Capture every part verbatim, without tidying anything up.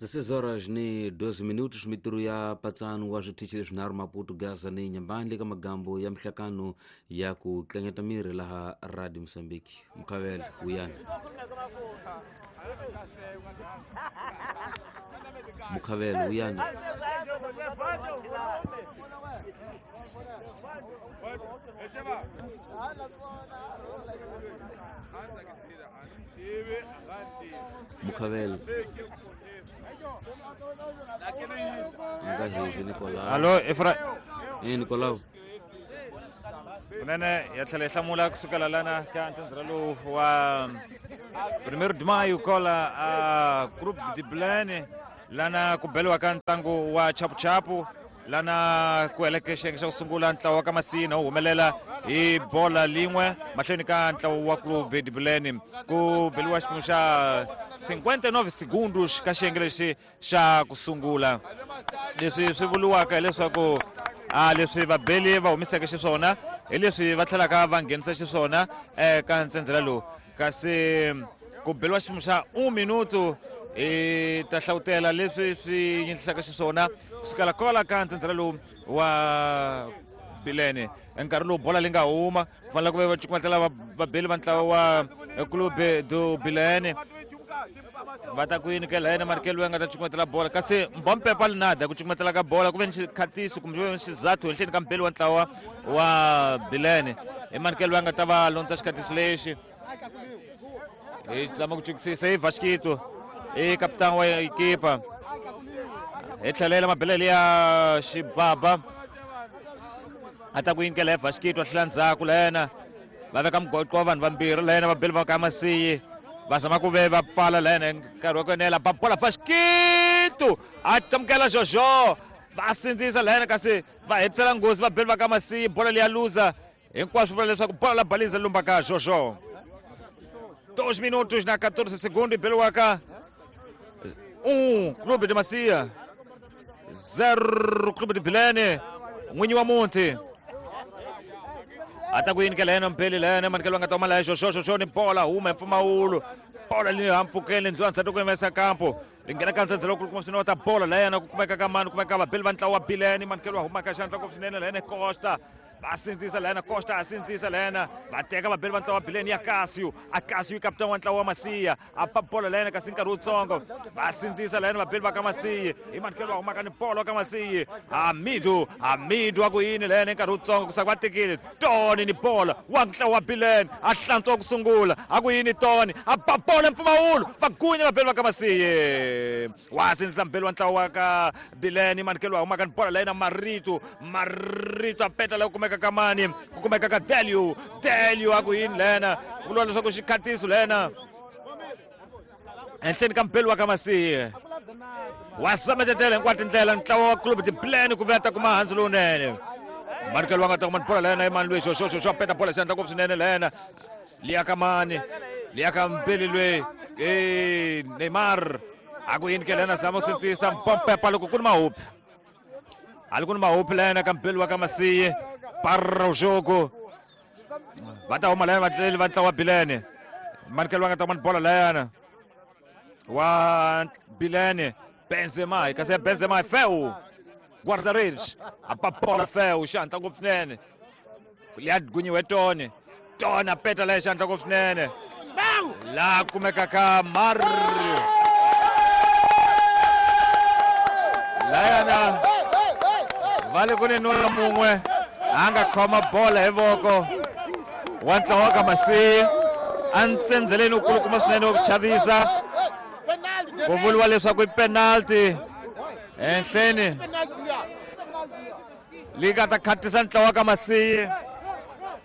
dezesseis horas ni doze minutos mitirho ya patsano wa switichi leswinharhu Maputo, Gaza ni Nyambani le ka magambo ya mihlakano ya ku tlangeta miri laha Radio Mozambique. Mukhavela wuyani Mukhavela wuyani Mukhavela nga hezi Nicolau. Allo Efra eh Nicolau kunene ya tlhela yi hlamula kusukela lana ka ntsandza lowu wa primeiro de maio kola a Clube de Bilene lana ku beliwa ka ntlangu wa chapuchapu lana ku heleke xiyenge xa ku sungula ntlawa wa ka Masina wu humelela hi bola lin'we mahlweni ka ntlawa wa Clube de Bilene ku beliwa xiphemu xa cinquenta e nove segundos ka xiyenge lexi xa ku sungula. Leswi swi vuriwaka hileswaku a leswi vabeli va humiseke xiswona hi leswi va tlhelaka va nghenisa xiswona eka ntsendzela lowu, kasi ku beliwa xiphemu xa un minuto hi ta hlawutela leswi swi yindlisaka xiswona kusukela kwala ka ntsendzela lowu wa Bilene. Nkarhi lowu bola leyi nga huma ku fanele ku ve va cukumetela vabeli va ntlawa wa Clube do Bilene va ta ku yini ke la yena Markel loyi a nga ta cukumetela bola, kasi Mbompepa Linada ku cukumetela ka bola ku ve ni xikhatiso kumbe ku ve ni xizathu henhleni ka mbeli wa ntlawa wa Bilene. I Markel loyi a nga ta va londza xikhatiso lexi hi zama ku cukisisa i Vasquito i kapitani wa ekipa hi tlhelela mabelele ya xibaba a ta ku yinkela hi Vasquito a tlhela ndzhaku la yena va veka mugoqo wa vanhu vambirhi la yena vabeli va ka Masiyi va zama ku ve va pfala la yena nkarhi wa ku enela ba bola Vasquito a amukela Jojo va sindzisa la yena kasi va hetisela nghozi vabeli va ka Masiyi bola leyi ya luza hinkwaswo vula leswaku bola la baliza lumba ka Jojo. Dois minutos na quatorze segundos beliwaka um Clube de Macia zero Clube de Bilene. N'winyi wa muti a ta ku yini ke la yena mpeli la yena manikelo nga ta huma la Jojo Jojo ni bola huma hi mpfumawulo bola leyi hampfukeni ndlwana ndzhaku ku yimesa kampo li nghena ka ndzhendzelo ku kuma swinene wa ta bola la yena ku kumeka ka mani kumeka vabeli va ntlawa wa Bilene manikelo wa huma ka xandla ku swinene la yena Costa va sindzisa la yena Costa a sindzisa la yena va teka vabeli va ntlawa wa Bilene ya Casio a Casio i kapitani wa ntlawa wa Masiya a pa bola la yena kasi nkarhi wutsongo va sindzisa la yena vabeli va ka Masiyi hi manikelo wa humaka ni bolo ka Masiyi Hamidu Hamidu a ku yini la yena nkarhi wutsongo ku saka va tekile Tony ni bola wa ntlawa wa Bilene a hlantswa ku sungula a ku yini Tony a pa bola mpfumawulo va gunya vabeli va ka Masiyi wa sindzisa mbeli wa ntlawa wa ka Bilene manikelo wa humaka ni bola la yena Marito Marito a peta la ku kumeka ka mani ku kumeka ka Delio Delio a ku yini lena ku vuriwa leswaku xikhatiso lena henhleni ka mbeli wa ka Masiyi wa sametetela hinkwato tindlela ntlawa wa Clube de Bilene ku ve a ta kuma handzu lowunene manikelo wa nga ta kuma bola lena i mani loyi Jojo Jojo a peta bola xandla ngopfu swinene lena liya ka mani liya ka mbeli loyi e Neymar a ku yini ke lena zama ku sindzisa Mpompepa loko ku ni mahupi ali ku ni mahupi lena ka mbeli wa ka Masiyi para o jogo va ta huma lena vatleli va ntlawa wa Bilene manikelo wa nga ta kuma bola leyana wa Bilene Benzema kasi Benzema feu guarda-redes a pa bola feu xandla ngopfu swinene liya gunyiwe Tony Tony a peta leya xandla ngopfu swinene laha kumeka ka Mario layana va le ku ni nuna mun'we a nga khoma bola hi voko wa ntlawa wa ka Masiyi a ntsendzeleni wu kulukuma swinene wa ku chavisa ku vuriwa leswaku i penalty henhleni leyi nga ta khatisa ntlawa wa ka Masiyi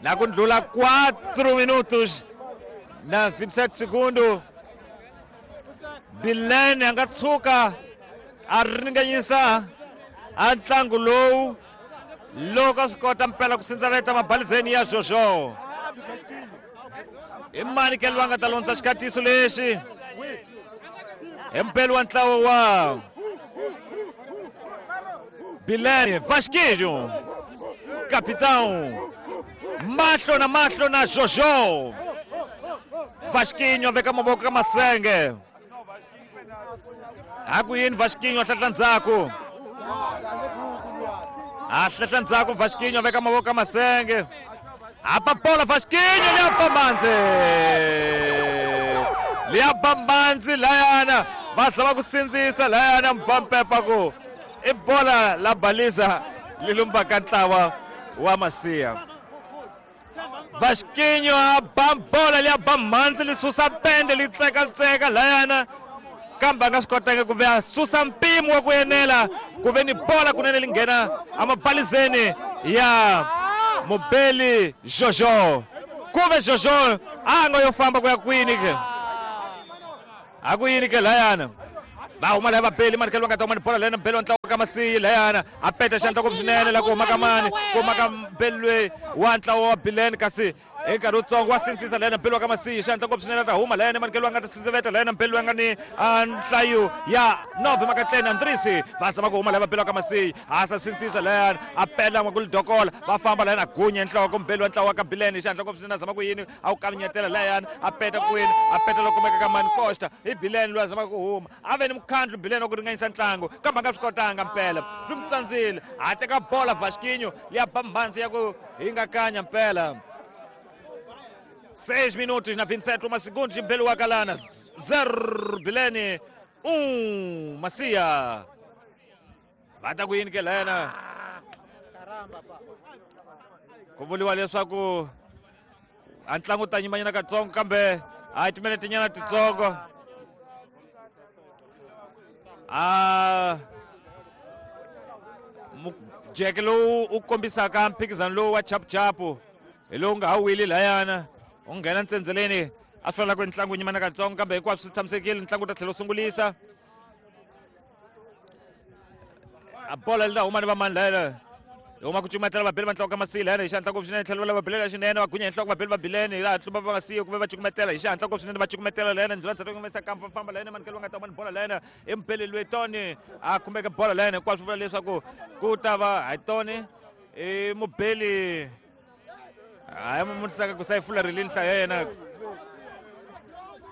na ku ndlula quatro minutos na vinte e sete segundo. Bilene a nga tshuka a ringanyisa a ntlangu lowu loko a swi kota mpela ku sindzaveta mabalizeni ya Jojo. I mani ke loyi a nga ta londza xikhatiso lexi hi mpeli wa ntlawa wa Bilene Vasquinho capitão mahlo na mahlo na Jojo. Vasquinho a veka mavoko ka masenge A ku yini Vasquinho hlahla ndzhaku. A hlahla ndzhaku Vasquinho veka mavoko masenge. Apa bola Vasquinho liya manzi. Liya manzi layana va zama ku sindzisa layana Mbampepa ku i bola la baliza li lumba ka ntlawa wa Masiya. Vasquinho a ba bola liya ba mhandzi li susa pende li tsekatseka layana kambe a nga swi kotanga ku ve a susa mpimo wa ku enela ku ve ni bola kunene li nghena emabalizeni ya Mubeli Jojo. Ku ve Jojo a nga yo famba ku ya kwini ke a ku yini ke layana va huma laya vabeli mani va nga ta huma ni bola layana Mbeli wa ntlawa ka Masiyi layana a peta xandla ku swinene la ku huma ka mani ku huma ka Mbeli loyi wa ntlawa wa Bileni kasi hi nkarhi wutsongo wa sindzisa layana Mbeli wa ka Masiyi xandla ku swinene ta huma layana mani va nga ta sindziveta layana Mbeli loyi a nga ni nhlayo ya nove makatleni Andrisi va zama ku huma laya vabeli wa ka Masiyi a sa sindzisa layana a pela n'wa ku lidokola va famba layana a gunya nhloko Mbeli wa ntlawa wa ka Bileni xandla ku swinene a zama ku yini a wu kavanyetela layana a peta kwini a peta loko kumeka ka mani Costa hi Bileni loyi a zama ku huma a ve ni mukhandlu Bileni wa ku ringanyisa ntlangu kambe a nga swi kotanga mpela swi n'wi tsandzile a teka bola Vasquinho ya ba mhandzi ya ku hingakanya mpela. Seis minutos na vinte e sete, uma segundos de Mbeli wa Kalana. Zero Bilene, um Masiya. Va ta ku yini ke layana? Ku vuriwa leswaku a ntlangu ta nyimanyana katsongo kambe a timinete nyana titsongo. A mujeke lowu u kombisaka mphikizano lowu wa chapuchapu hi lowu nga ha wili layana u nghena ntsendzeleni a swi fanela ku ri ntlangu nyimana katsongo kambe hinkwaswo swi tshamisekile ntlangu wu ta tlhela wu sungulisa a bola li ta huma ni vamani layana huma ku cukumetela vabeli va ntlawa ka Masiyi layana hi xihatla ngopfu swinene tlhelo va lava belela xinene va gunya hi nhloko vabeli va Bileni laha tlumba va nga siyi ku ve va cukumetela hi xihatla ngopfu swinene va cukumetela layana ndlula ndzhaku kumesa kampa famba layana manikelo va nga ta huma ni bola layana i Mbeli loyi Tony a khumbeke bola layana hinkwaswo vula leswaku ku ta va hi Tony i Mubeli hayi mutisaka ku sayifula rilini nhlayo ya yena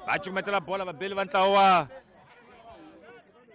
va cukumetela bola vabeli va ntlawa wa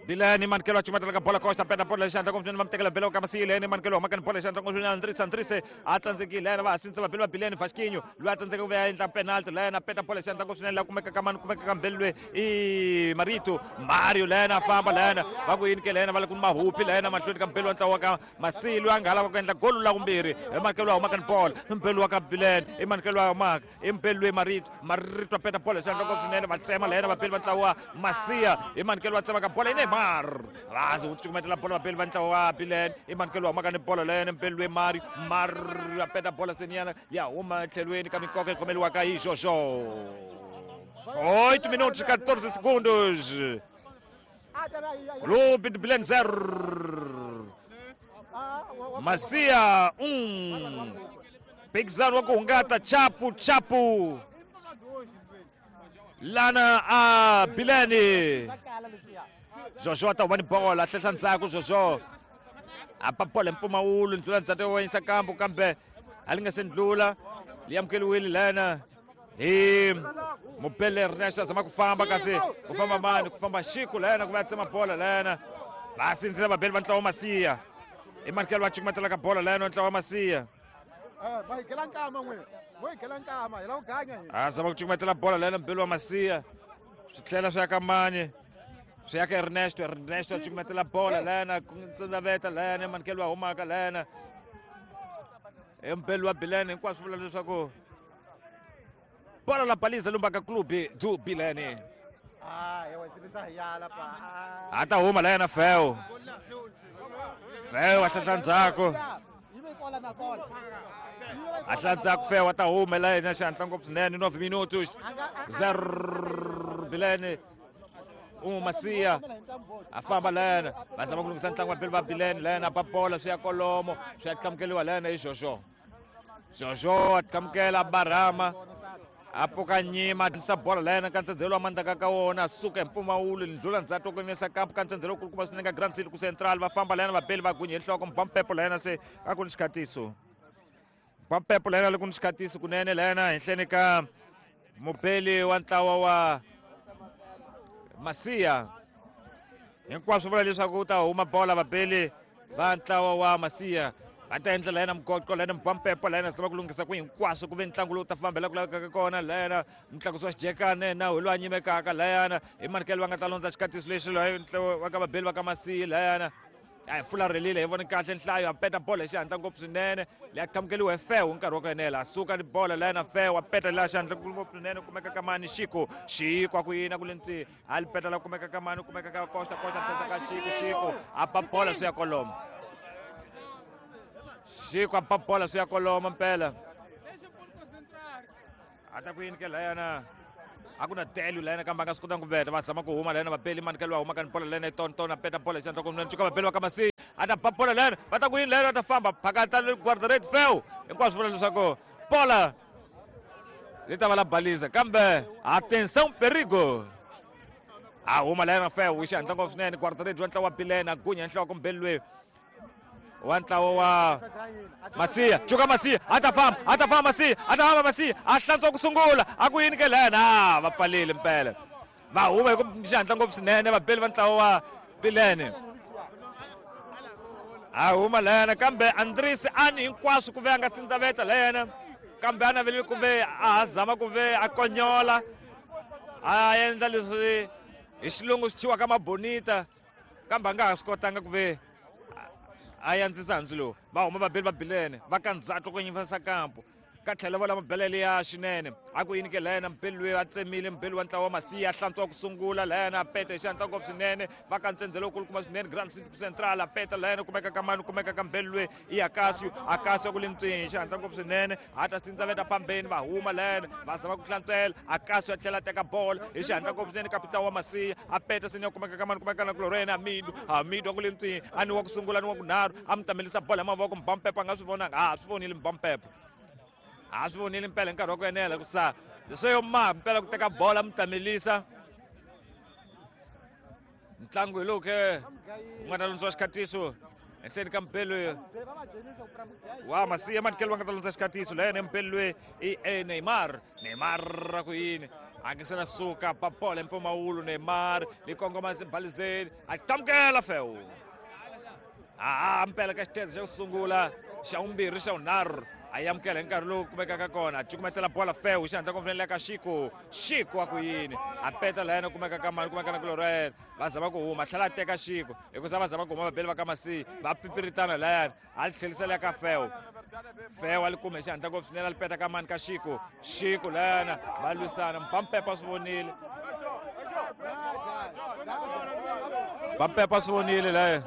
Bileni manikelo a cukumetela ka bola Costa peta bola xandla ngopfu swinene va mi tekela bela ka Masiyi leni manikelo huma ka ni bola xandla ngopfu swinene Andrisi Andrisi a tsandzekile layena va ha sindzisa vabeli va Bileni Vasquinho loyi a tsandzeka ku ve a endla penalty layena a peta bola xandla ngopfu swinene la kumeka ka mani kumeka ka Mbeli loyi i Marito Mario layena a famba layena va ku yini ke layena va le ku ni mahupi layena mahlweni ka Mbeli wa ntlawa ka Masiyi loyi a nga ha lava ku endla golu la vumbirhi hi manikelo a huma ka ni bola Mbeli wa ka Bileni i manikelo a humaka i Mbeli loyi Marito Marito a peta bola xandla ngopfu swinene va tsema layena vabeli va ntlawa wa Masiya hi manikelo wa tsema ka bola ine Mar vazi wu cukumetela bola vabeli va ntlawa wa Bileni i manikelo wa humaka ni bola layena Mbeli loyi Mario Mario a peta bola seniyana ya huma etlhelweni ka minkoka yi khomeliwaka hi Jojo. Oito minutos e quatorze segundos. Clube de Bilene zero Masiya um. Mphikizano wa ku hungata chapu chapu lana a Bileni. Jojo a ta huma ni bola hlehla ndzhaku Jojo a ba bola hi mpfumawulo ndlula ndzhaku wa yisa kambu kambe a li nga se ndlula li amukeliwile lana hi Mubele Ernesto a zama ku famba kasi ku famba mani ku famba Xiku lana ku va tsema bola lana va sindzisa vabeli va ntlawa wa Masiya i manikelo va cukumetela ka bola lana wa ntlawa wa Masiya a zama ku cukumetela bola lana Mbeli wa Masiya swi tlhela swi ya ka mani swi ya ka Ernesto Ernesto a cukumetela bola lana ku ntsendaveta lana manikelo wa humaka lana i Mbeli wa Bilene hinkwaswo vula leswaku bola la baliza lumbaka clube do Bilene a ta huma layana Feo Feo a hlahla ndzhaku a hlahla ndzhaku Feo a ta huma layena xihatla ngopfu swinene nove minutos zero Bilene um Masiya a famba layena va zama ku lunghisa ntlangu wa Beli va Bilene layena ba bola swi ya kolomo swi ya tlamukeliwa layena hi Jojo Jojo a tlamukela barhama a pfuka nyima a bola layena ka ntsendzelo wa mandaka ka wona a suka hi mpfumawulo ndlula ndzhaku ku yimisa kampu ka ntsendzelo kulukumba swinene ka Grand City ku Central va famba layena vabeli va gunye hi nhloko Mbampepo layena se a ku ni xikhatiso Mbampepo layena le ku ni xikhatiso kunene layena henhleni ka mubeli wa ntlawa wa Masiya. Hinkwaswo vula leswaku u ta huma bola vabeli va ntlawa wa Masiya. Va ta endla layena mugoqo layena mubampepo layena zama ku lunghisa ku hinkwaswo ku ve ntlangu lowu ta fambela ku lavekaka kona layena mutlakusi wa xijekane na hi loyi a nyimekaka layana hi manikelo va nga ta londza xikatiso lexi loyi wa ka vabeli va ka Masiya layana a hi fularhelile hi vone kahle nhlayo a peta bola hi xihatla ngopfu swinene leyi a qhamukeliwa hi Fewu nkarhi wa ku enela a suka ni bola layena Fewu a peta laha xihatla ngopfu swinene kumeka ka mani Xiko Xiko a ku yini a ku le ntsi a li peta la kumeka ka mani kumeka ka Costa Costa pesa ka Xiko Xiko a ba bola swi ya koloma Xiko a ba bola swi ya koloma mpela a ta ku yini ke layana a ku na telu layena kambe a nga swi kotanga ku veta va zama ku huma layena vabeli manikelo va huma ka ni bola layena tonton a peta bola hi xihatla kunene cuka vabeli va ka Masiya a ta ba bola layena va ta ku yini layena va ta famba phakata guardarate Fewu hinkwaswo vula leswaku bola li ta va la baliza kambe atenção perigo a huma layena Fewu hi xihatla ngopfu swinene guardarate wa ntlawa wa Bilene a gunya nhloko mbeli loyi wa ntlawa wa Masiya cuka Masiya a ta famba a ta famba Masiya a ta famba Masiya a hlantswa ku sungula a ku yini ke lena va pfalile mpela va huma hi ku xihatla ngopfu swinene vabeli va ntlawa wa Bilene a huma layena kambe Andrisi ani hinkwaswo ku ve a nga sindzaveta layena kambe a navelile ku ve a ha zama ku ve a konyola a endla leswi hi xilungu swi thyiwaka mabonita kambe a nga ha swi kotanga ku ve a yandzisa handzu lowu va huma vabeli va Bilene va ka ndzhaku ku nyifasa kampo ka tlhela va lama belele ya xinene a ku yini ke layena mbeli loyi a tsemile mbeli wa ntlawa wa Masiya a hlantswa ku sungula layena a peta hi xihatla ngopfu swinene va ka ntsendzelo wukulukumba swinene Grand City Central a peta layena kumeka ka mani kumeka ka mbeli loyi i Akasio Akasio ku le ntswini hi xihatla ngopfu swinene a ta sindzaveta phambeni va huma layena va zama ku hlantswela Akasio a tlhela a teka bola hi xihatla ngopfu swinene kapitani wa Masiya a peta sini ya kumeka ka mani kumeka na kulorho yena Amidu Amidu a ku le ntswini a ni wa ku sungula ni wa ku nharhu a mi tamelisa bola hi mavoko Mbampepo a nga swi vonanga a swi vonile Mbampepo a swi vonile mpela hi nkarhi wa ku enela ku sa leswo yo ma mpela ku teka bola mi tamelisa ntlangu hi lowu ke u nga ta lundziwa xikhatiso ehenhleni ka mbeli wa Masiya manikelo va nga ta lundza xikhatiso layena mbeli loyi i Neymar Neymar ra ku yini a nge se na suka ba bola hi mpfumawulo Neymar ni kongoma balizeni a qamukela Fewu a mpela ka xitezo xa ku sungula xa vumbirhi xa vunharhu a amukela hi nkarhi lowu kumekaka kona a cukumetela bola Fewu xihatla ku ka Xiko Xiko a ku yini a peta layena kumeka ka mani kumeka na kulorho yena va zama ku huma tlhela a teka Xiko hikuza va zama ku huma vabeli va ka Masiya va pipiritana layana a li tlhelisela ka Fewu Fewu a li kume xihatla ngopfu swinene a li peta ka mani ka Xiko Xiko layana va lwisana Mpampepa swi vonile Mpampepa swi vonile laya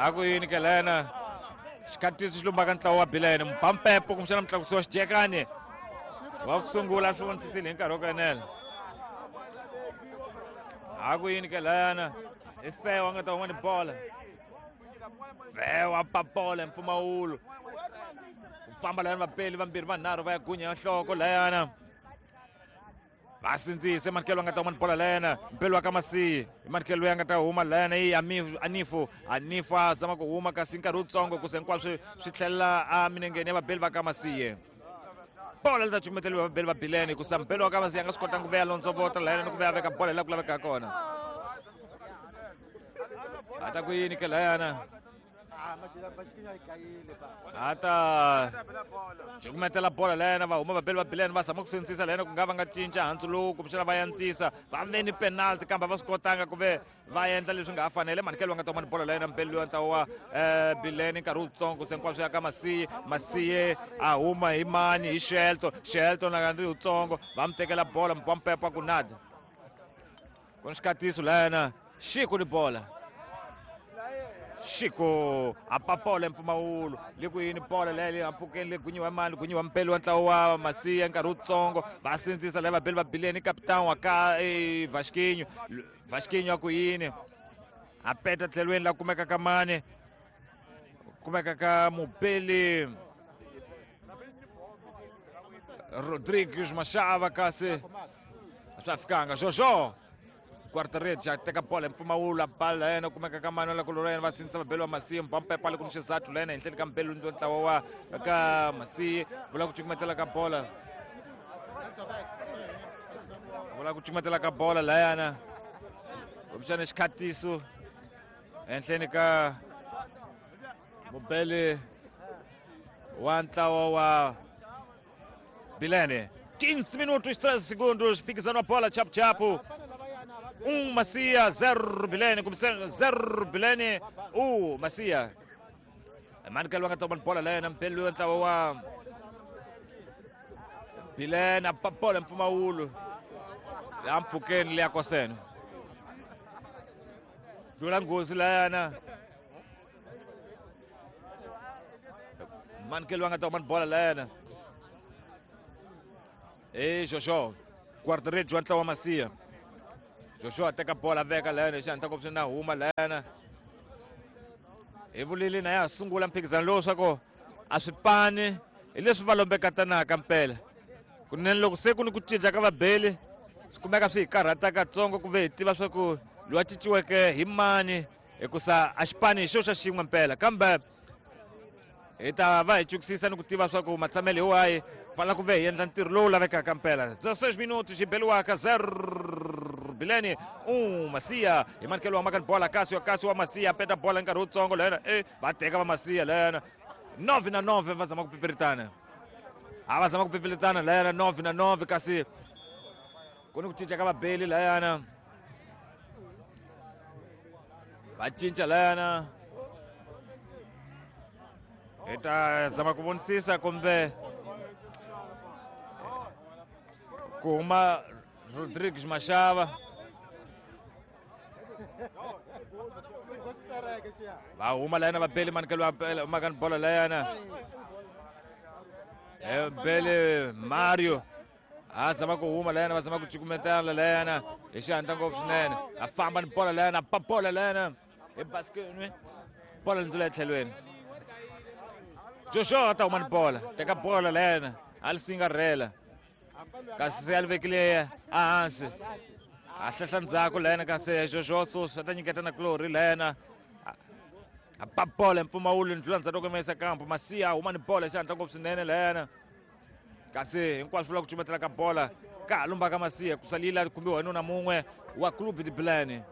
a ku yini ke layana xikhatiso xi lumbaka ntlawa wa Bilene Mpampepo kumbexana mutlakusi wa xijekani wa ku sungula swi vonisisile hi nkarhi wa ku enela a ku yini ke layana i Fewu a nga ta huma ni bola Fewu a ba bola hi mpfumawulo ku famba layana vapeli vambirhi vanharhu va ya gunya ya nhloko layana va sindzise manikelo a nga ta huma ni bola layena mbeli wa ka Masiya hi manikelo loyi a nga ta huma layena i Anifu Anifu a zama ku huma kasi nkarhi wutsongo ku se hinkwaswo swi tlhelela a minengeni ya vabeli va ka Masiya bola li ta cukumeteliwa vabeli va Bilene hikusa mbeli wa ka Masiya a nga swi kotanga ku veya londzovota layena ni ku veya veka bola hi laha ku lavekaka kona a ta ku yini ke layana a ta cukumetela bola layena va huma vabeli va Bilene va zama ku sindzisa layena ku nga va nga cinca handzu lowu kumbexana va yandzisa va ve ni penalty kambe va swi kotanga ku ve va endla leswi nga ha fanele manikelo va nga ta huma ni bola layena mbeli loyi ntlawa wa Bilene nkarhi wutsongo se hinkwaswo ya ka Masiya Masiya a huma hi mani hi Shelton Shelton a ri wutsongo va mi tekela bola Mpampepo a ku nada ku ni xikatiso layena Xiko ni bola Xiko a ba bola hi mpfumawulo le ku yini bola leyi le mpfhukeni le gunyiwa mali gunyiwa mpeli wa ntlawa wa Masiya nkarhi wutsongo va sindzisa laya vabeli va Bilene kapitani wa ka Vasquinho Vasquinho a ku yini a peta tlhelweni la kumeka ka mani kumeka ka mubeli Rodrigues Machava kasi a swa fikanga Jojo guarda-redes a teka bola hi mpfumawulo a ba layena kumeka ka mani la kulorho yena va sindzisa vabeli va Masiya Mpampepo a le ku ni xizathu layena henhleni ka mbeli wa ntlawa wa ka Masiya vula ku cukumetela ka bola vula ku cukumetela ka bola layana Kumbexana xikhatiso ehenhleni ka mubeli wa ntlawa wa Bilene. quinze minutos treze segundos, mphikizano wa bola chapu-chapu. Um Macia, zero Bilene, começando zero Bilene, um Macia. Manuel nga toma bola lena mpeli wa ntlawa wa Bilene, a bola mpfumawulo la mpfhukeni leya kosene. Dlula nghozi layana. Manuel nga toma bola layana. E Jojo, guarda-redes wa ntlawa wa Macia. Jojo a teka bola veka layana, xi hatla ngopfu na huma layana. Hi vulile na ya sungula mphikizano lowu swa ku a swi pani hi leswi va lombekatanaka mpela. Kunene loko se ku ni ku cinca ka vabeli swi kumeka swi hi karhata katsongo ku ve hi tiva swa ku loyi a cinciweke hi mani, hikusa a xi pani hi xo xa xin'we mpela. Kambe hi ta va hi chukisisa ni ku tiva swa ku matshamelo hi wahi, fanele ku ve hi endla ntirho lowu lavekaka mpela. dezesseis minutos hi beliwaka zero Bilene, um Macia. Hi manikelo wa makani bola Cássio, Cássio wa Macia peta bola hi nkarhi wutsongo lena, e va teka va Macia lena. nove na nove va zama ku pipiritana. A va zama ku pipiritana lena nove na nove, kasi ku ni ku cinca ka vabeli layana. Va cinca layana. Hi ta zama ku vonisisa kumbe ku huma Rodrigues Machava. Va huma layana vabeli manikelo wa makani bola layana. Bele Mario a zama ku huma layana, va zama ku cukumetana layana hi xihatla ngopfu swinene. A famba ni bola layana, pa bola layana hi basketnwe, bola ndlula etlhelweni. Joshua a ta huma ni bola, teka bola layana, a li singarhela. Kasi se a li vekile ehansi. A hlehla ndzhaku layana, kasi Joshua sweswi a ta nyiketa na Glory layana. A ba bola hi mpfumawulo ndlula ndzhaku loko yisa kampo. Macia a huma ni bola hi xihatla ngopfu swinene layana. Kasi hinkwaswo swi vula ku cumetela ka bola ka ha lumba ka Macia, ku salila khumbiwa hi nuna mun'we wa Clube de Bilene.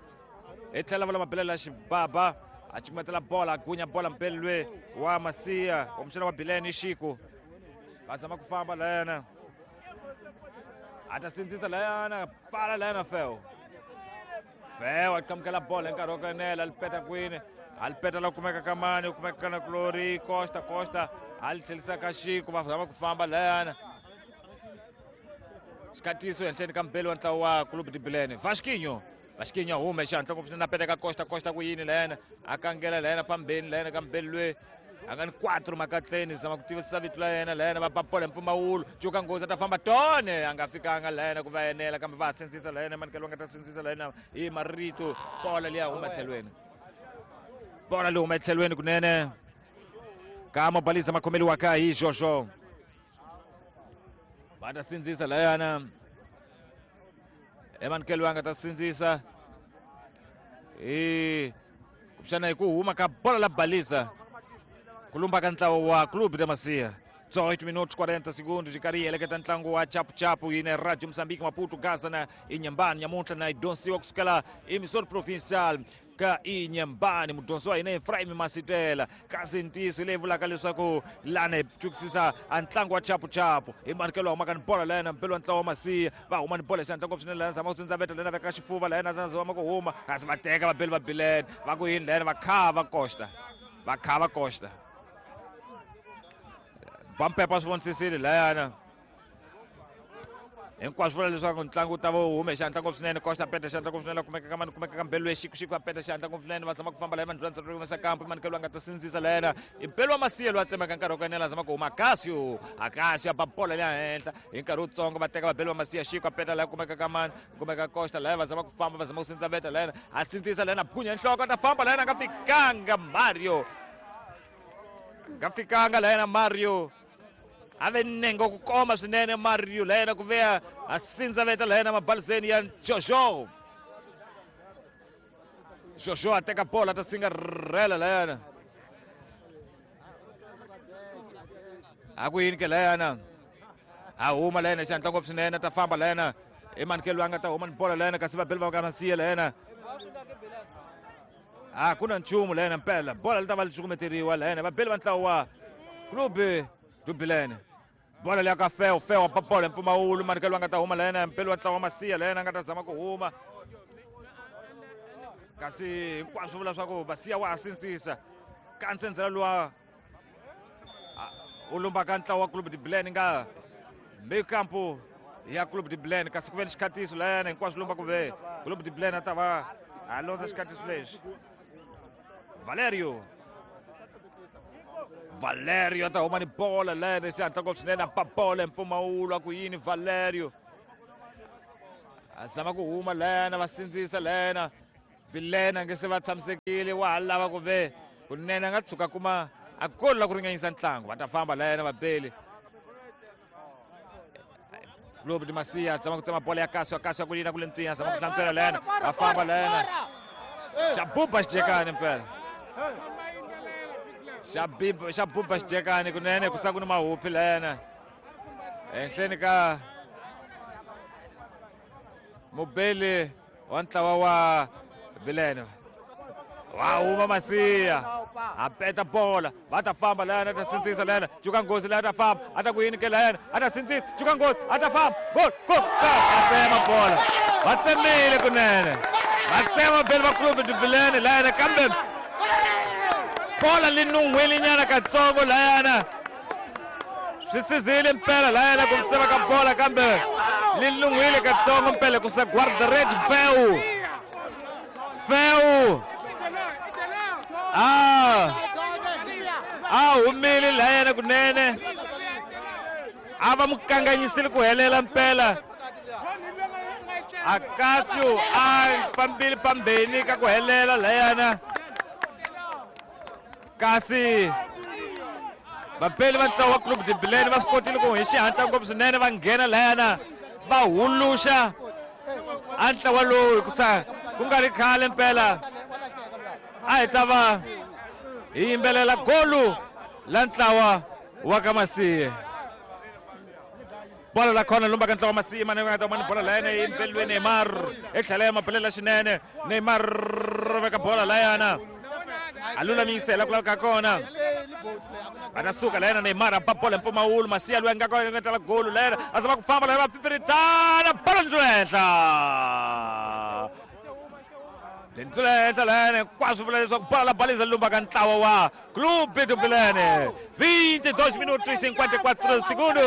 Hi tlhela va lama belela xibaba, a cumetela bola, a gunya bola mpeli lwe wa Macia, wa muxana wa Bilene Xiku. Va zama ku famba layana. A ta sindzisa layana, pfala layana Feo. Feo a qamukela bola hi nkarhi wa ku enela, a li peta kwini, a li peta la kumeka ka mani, ku kumeka ka na Glory, Costa, Costa a li tlhelisa ka Xiku, va zama ku famba layana. Xikhatiso ehenhleni ka mpeli wa ntlawa wa Clube de Bilene. Vasquinho, Vasquinho a huma hi xihatla ngopfu swinene, a peta ka Costa, Costa ku yini layana, a kangela layana phambeni layana ka mpeli lwe a nga ni quatro makatleni, zama ku tivisisa vito la yena layana, va ba bola hi mpfumawulo. Cuka nghozi a ta famba tone, a nga fikanga layana ku va enela, kambe va ha sindzisa layana, manikelo va nga ta sindzisa layana hi marito. Bola liya huma etlhelweni, bola leyi huma etlhelweni kunene ka Mobaliza makhomeliwaka hi Jojo. Va ta sindzisa layana, emanikelo va nga ta sindzisa hi kumbexana hi ku huma ka bola la Baliza ku lumba ka ntlawa wa Clube de Macia. dezoito minutos quarenta segundos, hi karhi hi heleketa ntlangu wa chapuchapu yine Radio Moçambique Maputo Gaza na Inhambane nyamuntlha na hi dyondzisiwa kusukela emissora provincial ka Inhambane. Mudyondzi wa hina Efraim Masitela, kasi ntiyiso leyi vulaka leswaku lana hi chukisisa a ntlangu wa chapuchapu hi manikelo wa humaka ni bola layana mpelo wa ntlawa wa Macia. Va huma ni bola hi xihatla ngopfu swinene layana, zama ku tsindzaveta layana, veka xifuva layana, zama ku huma, kasi va teka vabeli va Bilene, va ku yini layana, va khava Costa, va khava Costa. Bampepa swi vonisisile layana. Hinkwaswo vula leswaku ntlangu wu ta va wu hume xihatla ngopfu swinene. Costa peta xihatla ngopfu swinene, kumeka ka mani, kumeka ka mbelo Xiku, Xiku a peta xihatla ngopfu swinene, va zama ku famba laya mandlula ndzhaku humesa kampo, manikelo a nga ta sindzisa layana. I mpelo wa Macia loyi a tsemeka nkarhi wa ku enela, zama ku huma Cássio, a Cássio a ba bola leya henhla hi nkarhi wutsongo, va teka vabeli va Macia. Xiku a peta laya, kumeka ka mani, kumeka Costa laya, va zama ku famba, va zama ku sindza veta layana, a sindzisa layana, phunya nhloko, a ta famba layana, a nga fikanga Mario, nga fikanga layana Mario. A ve nenge ku koma swinene Mario layena ku veya a sindza veta layena mabaliseni ya Jojo. Jojo a teka bola ta singarhela layana. A ku yini ke layana, a huma layena xihatla ngopfu swinene, ta famba layena I Manikelo a nga ta huma ni bola layena kasi vabeli va ka Masiya layena a ku na nchumu layena mpela bola li ta va li cukumeteriwa layena vabeli va ntlawa wa Clube do Bilene. Bola leya ka Feo, Feo pa bola mpfumawulo Manikelo a nga ta huma layena mpeli wa ntlawa wa Masiya layena a nga ta zama ku huma kasi hinkwaswo vula swa ku Masiya wa ha sindzisa ka ntsendzela luwa u lumbaka ntlawa wa Clube de Bilene nga meio-campo ya Clube de Bilene kasi ku ve ni xikhatiso layana hinkwaswo lumba ku ve Clube de Bilene a ta va a londza xikhatiso lexi. Valerio Valerio a ta huma ni bola layana xihatla ngopfu swinene a ba bola hi mpfumawulo a ku yini Valerio a zama ku huma layana va sindzisa layana Bilene a nge se va tshamisekile wa ha lava ku ve kunene a nga tshuka kuma a golo la ku ringanyisa ntlangu va ta famba layana vabeli Clube de Masiya zama ku tsema bola ya Kasio Kasio ku yina ku le ntwinya zama ku hlantswela layana va famba layana xa buba xijekani mpela xa biba xa buba xijekani kunene ku sa ku ni mahuphi layana ehenhleni ka mubeli wa ntlawa wa Bilene. Wa huma Masiya a peta bola va ta famba layana a ta sindzisa layana cuka nghozi laya ta famba a ta ku yini ke layana a ta sindzisa cuka nghozi a ta famba gol gol a tsema bola va tsemile kunene va tsema beli va Clube de Bilene layana kambe bola li nun'hwile nyana katsongo layana swi sizile mpela layana ku tsema ka bola kambe li nun'hwile katsongo mpela ku sa guarda-redes Feu Feu ah a humile layena kunene a va mukanganyisile ku helela mpela Akasio a fambile pambeni ka ku helela layana kasi vapeli va ntlawa wa Clube de Bilene va swi kotile ku hi xihatla ngopfu swinene va nghena layana va huluxa a ntlawa lowu hikusa ku nga ri khale mpela a hi ta va hi yimbelela golu la ntlawa wa ka Masiya. Bola la khona lumba ka ntlawa wa Masiya mane nga ta mani bola layana yimbeliwe Neymar etlhela ya mabelela xinene Neymar veka bola layana a lulamisela ku lava ka kona va ta suka layana Neymar a ba bola hi mpfumawulo Masiya loyi a nga kona nga tala golu layana a zama ku famba layana va pipiritana bola ndzi henhla lendlula henhla layana hinkwaswo vula leswaku bola la baliza lumba ka ntlawa wa Clube do Bilene. Vinte e dois minutos e cinquenta e quatro segundos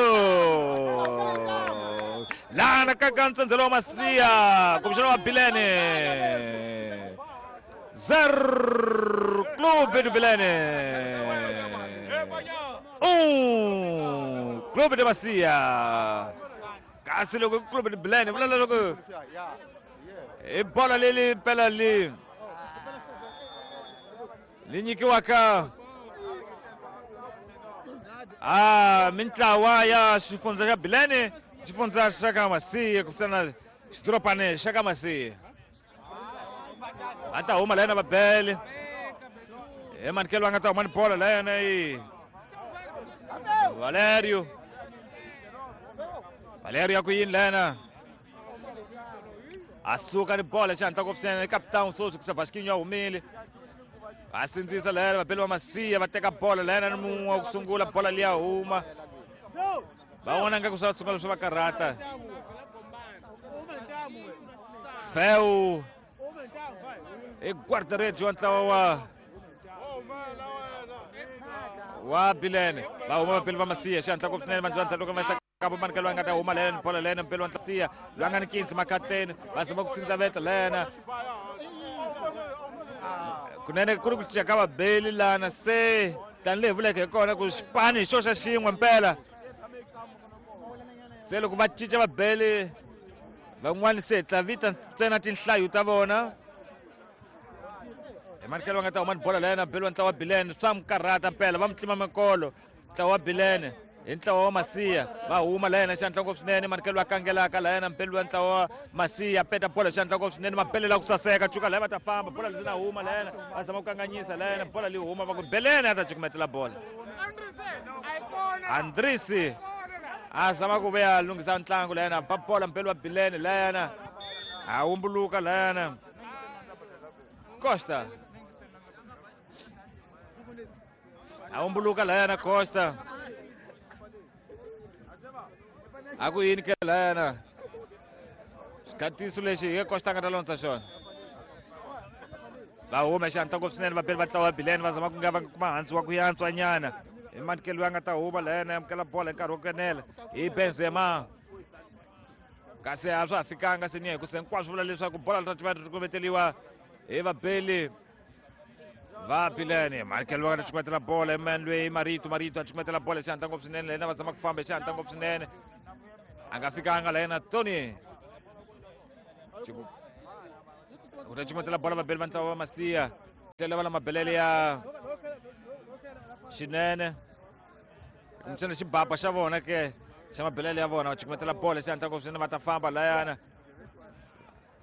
lana ka ka ntsendzelo wa Masiya kumbexana wa Bilene zero Clube do Bilene um Clube de Masiya kasi loko Clube do Bilene vula loko i bola leli mpela li li nyikiwaka a mintlawa ya xifundza xa Bilene xifundza xa ka Masiya ku fana xidorobane xa ka Masiya va ta huma layena vabele hi Manikelo a nga ta huma ni bola layena i Valerio Valerio ya ku yini layena a suka ni bola xihatla ngopfu swinene capitão sweswi ku sa Vasquinho a humile va sindzisa layena vabeli va Masiya va teka bola layena ni mun'we wa ku sungula bola liya huma va vona nga ku swa sungula swi va karhata Feu i guarda-redes wa ntlawa wa wa Bilene va huma vabeli va Masiya xihatla ngopfu swinene va ndzi loko va yisa kabo Manikelo a nga ta huma layena bola layena mpeli wa Masiya loyi a nga ni kinsi makatleni va zama ku sindzaveta layena kunene ku ri ku cinca ka vabeli lana se tanihi vuleke hi kona ku xipani hi xo xa xin'we mpela se loko va cinca vabeli van'wani se hi tla vita ntsena tinhlayo ta vona hi Manikelo va nga ta huma ni bola layena beli wa ntlawa wa Bilene swa mi karhata mpela va mi tlima minkolo ntlawa wa Bilene hi ntlawa wa Masiya va huma layena xihatla ngopfu swinene Manikelo va kangelaka layena mpeli wa ntlawa wa Masiya peta bola xihatla ngopfu swinene mabelela ku saseka cuka laya va ta famba bola lezi na huma layena va zama ku kanganyisa layena bola li huma va ku Belene a ta cukumetela bola Andrisi A zama ku vuya lunghisa ntlangu layana ba bola mpelo wa Bilene layana a humbuluka layana Costa a humbuluka layana Costa a ku yini ke layana xikhatiso lexi hi Costa a nga ta londza xona va huma xihatla ngopfu swinene vabeli va ntlawa wa Bilene va zama ku nga va kuma hansi wa ku yantswa nyana hi manikelo loyi a nga ta huma layana amukela bola hi nkarhi wo kenela hi Benzema kasi a swa ha fikanga se ni hi ku se hinkwaswo vula leswaku bola ri ta va ri kumeteliwa hi vabeli va Bilene manikelo loyi a nga ta cukumetela bola hi loyi Marito Marito a cukumetela bola hi xihatla ngopfu swinene layena va zama ku famba hi xihatla ngopfu swinene a nga fikanga layena Tony u ta cukumetela bola vabeli va ntlawa va Masiya tlhela va la mabelele ya xinene kumbexana xibaba xa vona ke xa mabelele ya vona va cukumetela bola xihatla ngopfu swinene va ta famba layana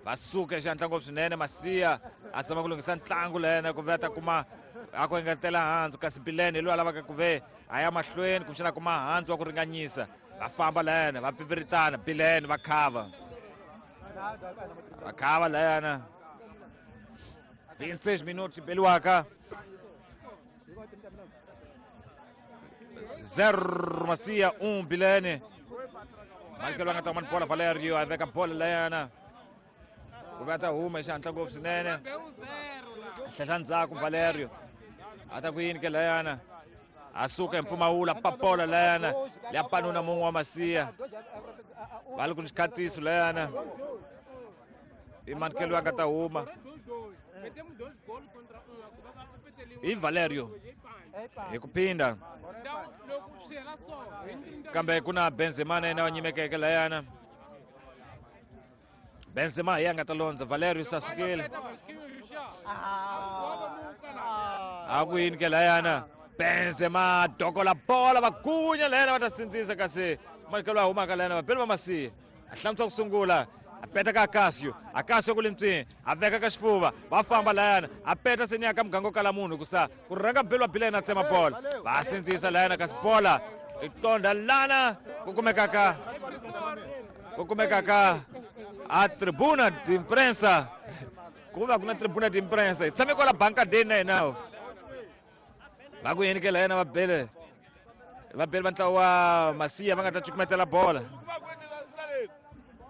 va suka xihatla ngopfu swinene Masiya a zama ku lunghisa ntlangu layana ku ve a ta kuma a ku engetela handzu kasi Bilene hi loyi a lavaka ku ve a ya mahlweni kumbexana kuma handzu wa ku ringanyisa va famba layana va pipiritana Bilene va khava va khava layana vinte e seis minutos beliwaka zero Masiya um Bilene manikelo a nga ta kuma bola Valerio a veka bola layana ku va ta huma xihatla ngopfu swinene hlehla ndzhaku Valerio a ta ku yini ke layana a suka hi mpfumawula papola layana ya panuna mun'we wa Masiya va ri ku ni xikhatiso layana i manikelo a nga ta huma hi Valerio hi ku phinda kambe ku na Benzema na yena wa nyimekeke layana Benzema hi ya nga ta londza Valerio se a sukile a ku yini ke layana Benzema dokola bola va gunya layana va ta sindzisa kasi manikelo a humaka layana vabeli va Masiya a hlamusela ku sungula a peta ka Akasio Akasio ku le ntswini a veka ka xifuva va famba layana a peta se ni ya ka muganga wo kala munhu hikusa ku rhanga mbeli wa Bilene a tsema bola va sindzisa layana kasi bola i tonda lana ku kumekaka ku kumekaka a tribuna de imprensa ku va ku na tribuna de imprensa hi tshame kwala bankadeni na hina va ku yini ke layana va bele va bele va ntlawa wa Masiya va nga ta cukumetela bola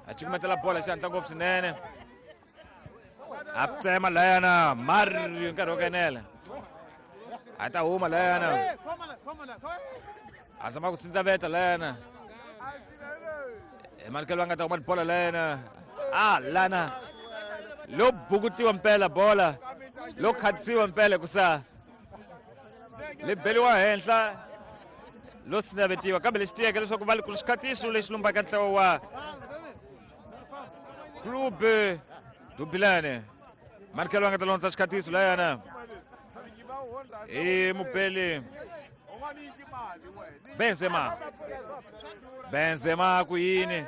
a cukumetela bola xihatla ngopfu swinene a tsema layana Mario nkarhi wo kenela a ta huma layana a zama ku sindzaveta layana hi manikelo a nga ta huma bola layana a lana lo bukutiwa mpela bola lo khatsiwa mpela hikusa li beliwa henhla lo sinavetiwa kambe lexi tiyeke leswaku va ku xikhatiso lexi lumbaka ntlawa wa Clube do Bilene manikelo a nga ta londza xikhatiso layana i mubeli Benzema Benzema ku yini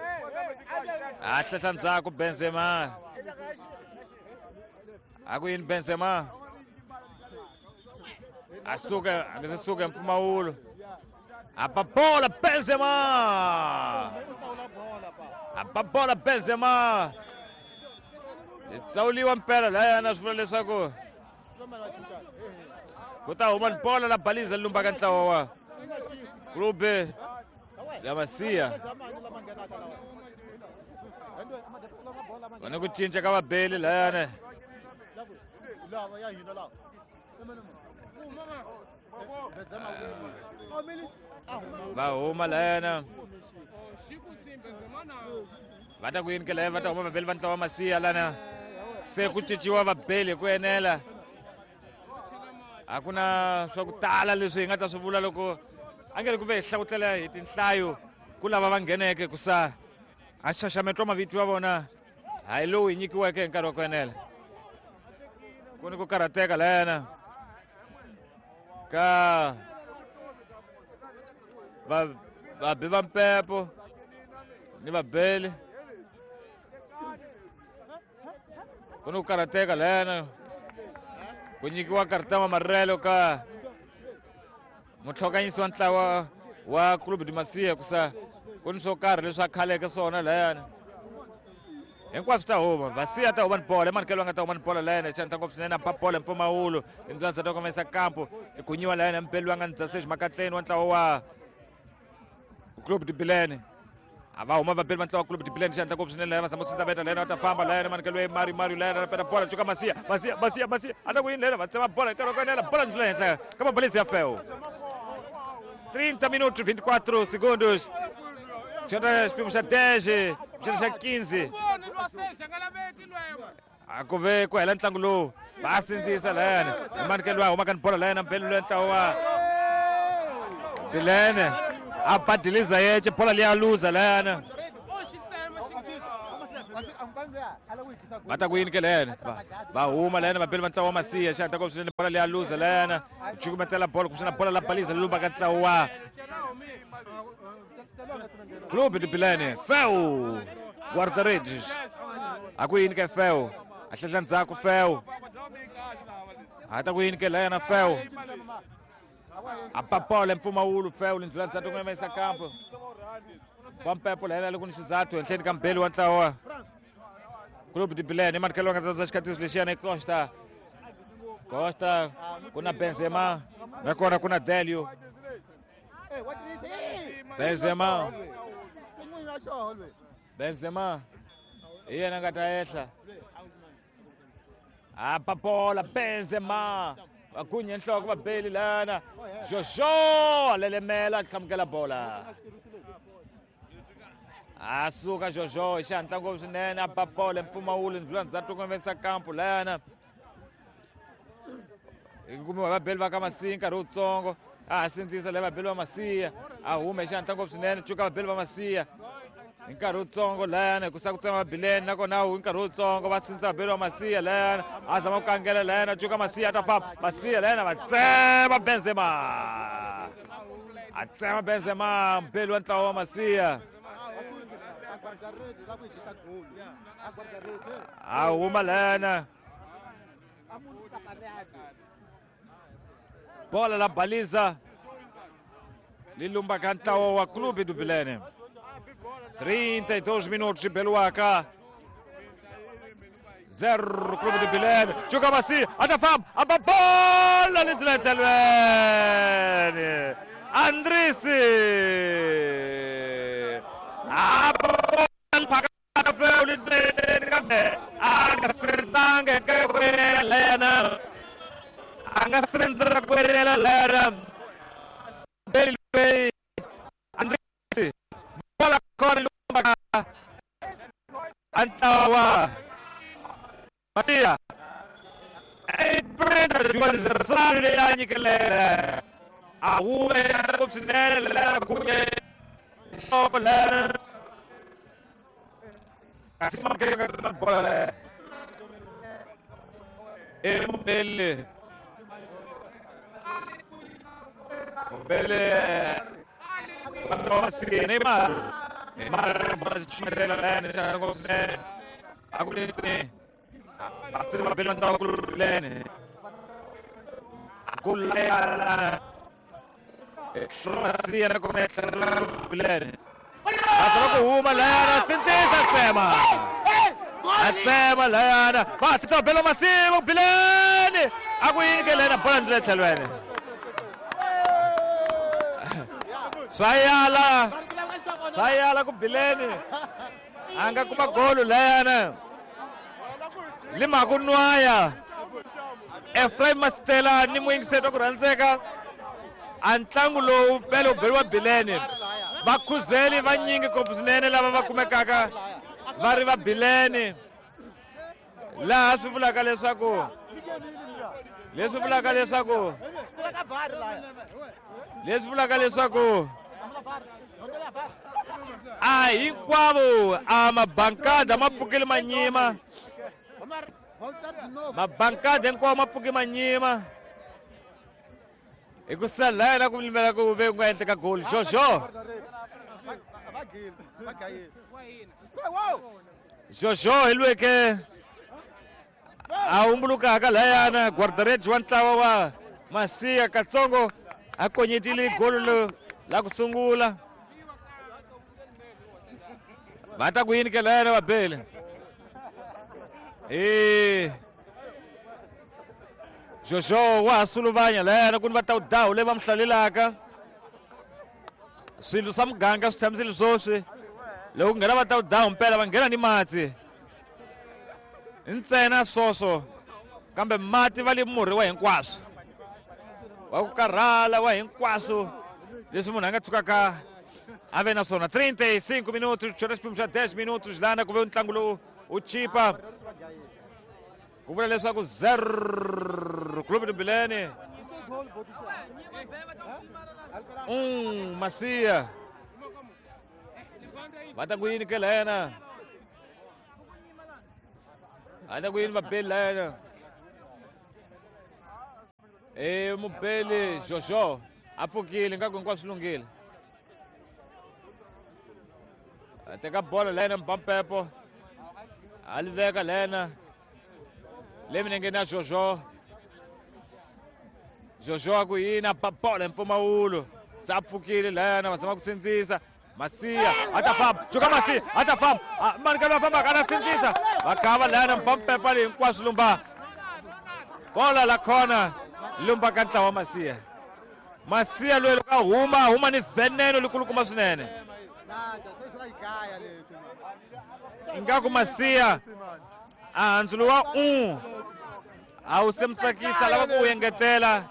a hlehla ndzhaku Benzema a ku yini Benzema a suka a nga se suka mpfumawulo a ba bola Benzema a ba bola Benzema tsawuliwa mpela layana swi vula leswaku ku ta huma bola la baliza lumbaka ntlawa wa Clube ya Masiya ku na ku cinca ka vabeli layana va huma layana va ta ku yini ke laya va ta huma vabeli va ntlawa wa Masiya lana se ku cinciwa vabeli hi ku enela a ku na swa ku tala leswi hi nga ta swi vula loko a nge ri ku ve hi hlawutela hi tinhlayo ku lava va ngheneke ku sa a xaxameto wa mavito ya vona hayi lowu hi nyikiweke hi nkarhi wa ku enela ku ni ku karhateka layana ka va vabi va mpepo ni vabeli ku ni ku karhateka layana ku nyikiwa karata wa marelo ka mutlhokanyisi wa ntlawa wa Clube de Masiya ku sa Ku ni swo karhi leswi a khaleke swona layani. Hinkwaswo ta huma Vasiya ta huma ni bola emanikelo nga ta huma ni bola layani xantla ngopfu swinene a ba bola mpfumawulo indzwanza ta komesa kampo ikunyiwa layani mpeli wa nga ni dzasexi makatleni wa ntlawa wa Clube de Bilene. A va huma vabeli va ntlawa Clube de Bilene xantla ngopfu swinene layani va zama sindza veta layani va ta famba layani manikelo ya Mario Mario layani a peta bola cuka Masiya Masiya Masiya Masiya a ta ku yini layani va tsema bola nkarhi wa ku enela bola ndlula henhla ka mabalezi ya feo. trinta minutos vinte e quatro segundos. Xana xipimo xa dez, xana xa quinze. A ku ve ku hela ntlangu lowu va sindzisa layani emanikelo wa huma ka ni bola layani mpeli loyi ntlawa wa Bilene a badiliza yece bola liya luza layani va ta ku yini ke layani va huma layani vabeli va ntlawa wa Masiya xana ta ku swinene bola liya luza layani cukumetela bola kumbexana bola la baliza lumba ka ntlawa wa Clube de Bilene. Feu guarda-redes a ku yini ke Feu a hlehla ndzhaku Feu a ta ku yini ke layana Feu a papola mpfumawulo Feu lindlula ndzhaku ku yimisa kampo Vampepo layana loko ni xizathu henhleni ka mbeli wa ntlawa Clube de Bilene emanikelo nga ta xikatiso lexiyana i Costa Costa ku na Benzema nakona ku na Delio Benzema Benzema hi yena nga ta ehla a papola Benzema va gunye nhloko va beli lana Jojo lelemela a hlamukela bola a suka Jojo hi xihatla ngopfu swinene a papola mpfumawulo ndlula ndzhaku ku kampo lana hi kumiwa vabeli va ka Masiya nkarhi wutsongo a ha sindzisa leyi vabeli va Masiya a hume hi xihatla ngopfu swinene cuka vabeli va Masiya hi nkarhi wutsongo layani ku sa ku tsema Bilene nakona hi nkarhi wutsongo va sindza vabeli va Masiya layani a zama ku kangela layani a cuka Masiya a ta famba Masiya layani va tsema Benzema a tsema Benzema mbeli wa ntlawa wa Masiya a huma layana bola la baliza lilumba ka ntlawa wa Clube do Bilene. trinta e dois minutos Beluaca zero Clube do Bilene. Juga Masiya ata famba a bola lindlela Andrisi a bola phakata feu lindlela kambe a nga sirtanga ka lena a nga sirtanga ku lena Beli Andrisi bola kona lumba ka ntlawa Masiya Brenda Juan leyi nyikelele a hume ngopfu swinene lera kunye nhloko lera kasi makeke bola e Mbele Mbele Masiya Neymar Neymar bola xichumela lena xa ngopfu swinene a ku ni a tsema bela ntlawa ku lene ku lena Masiya na kona Bilene a zama ku huma lena sindzisa tsema a tsema lena va tsema bela Masiya Bilene a ku yini ke lena bola ndlela tlhelweni swa yala swa yala ku Bilene a nga kuma golo lena lima ku nwaya Ephraim Mastela ni muyingiseti wa ku rhandzeka a ntlangu lowu bele wu beriwa Bilene vakhuzeli vanyingi ngopfu swinene lava va kumekaka va ri va Bilene laha swi vulaka leswaku leswi vulaka leswaku leswi vulaka leswaku a hinkwavo a mabankada ma pfukile manyima mabankada hinkwawo ma pfuke manyima hi ku sala yena ku limela ku ve ku nga endleka goal Jojo Jojo hi lweke a humbulukaka layana guarda-redes wa ntlawa wa Masiya katsongo a konyetile golo la ku sungula. Va ta ku yini ke lena vabeli? Eh. Jojo wa ha suluvanya lena ku ni va ta dawu leyi va mi hlalelaka. Swilo swa muganga swi tshamisile swoswi. Loko ku nghena va ta dawu mpela va nghena ni mati. Ntsena swoswo kambe mati va le murhi wa hinkwaswo. Wa ku karhala wa hinkwaswo leswi munhu a nga tshukaka a ve na swona. trinta e cinco minutos, xona xiphemu xa dez minutos lana ku ve ntlangu lowu wu chipa. Ku vula leswaku zero Clube de Bilene um Macia. Va ta ku yini ke lena? Va ta ku yini vabeli lena? E mubeli Jojo a pfukile ingaku hinkwaswo swi lunghile. A teka bolo lena Mpampepo a li veka lena le milengeni ya Jojo. Jojo a ku yini a ba bolo hi mpfumawulo se a pfukile lena va zama ku sindzisa Macia a ta famba cuka Macia a ta famba mani ka loyi a fambaka a ta sindzisa va kava lena Mpampepo leyi hinkwaswo lumba bola la khona lumba ka ntlawa wa Macia. Macia loyi loko a huma a huma ni veneno likulukumba swinene. Ingaku Macia a handzulu wa un a wu se mi tsakisa lava ku wu engetela.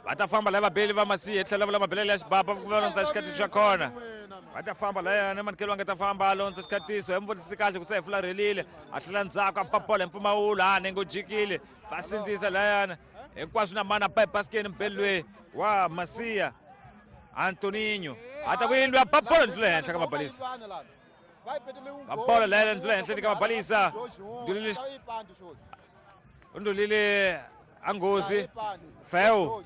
Va ta famba lava vabeli va Macia hi tlhela va lava mabelele ya xibaba ku va londza xikatiso xa kona. Va ta famba layana manikelo va nga ta famba a londza xikatiso hi mi vutisi kahle ku se hi fularhelile a tlhela ndzhaku a ba bolo hi mpfumawulo a nenge u jikile va sindzisa layana hinkwaswo na mana ba ebasikeni mubeli loyi wa Macia Antoninho a ta ku yini loyi a ba bolo ndlula henhla ka mabalisa. Va bolo layana ndlula henhla ka mabalisa. Ndlulile ndlulile a nghozi Feu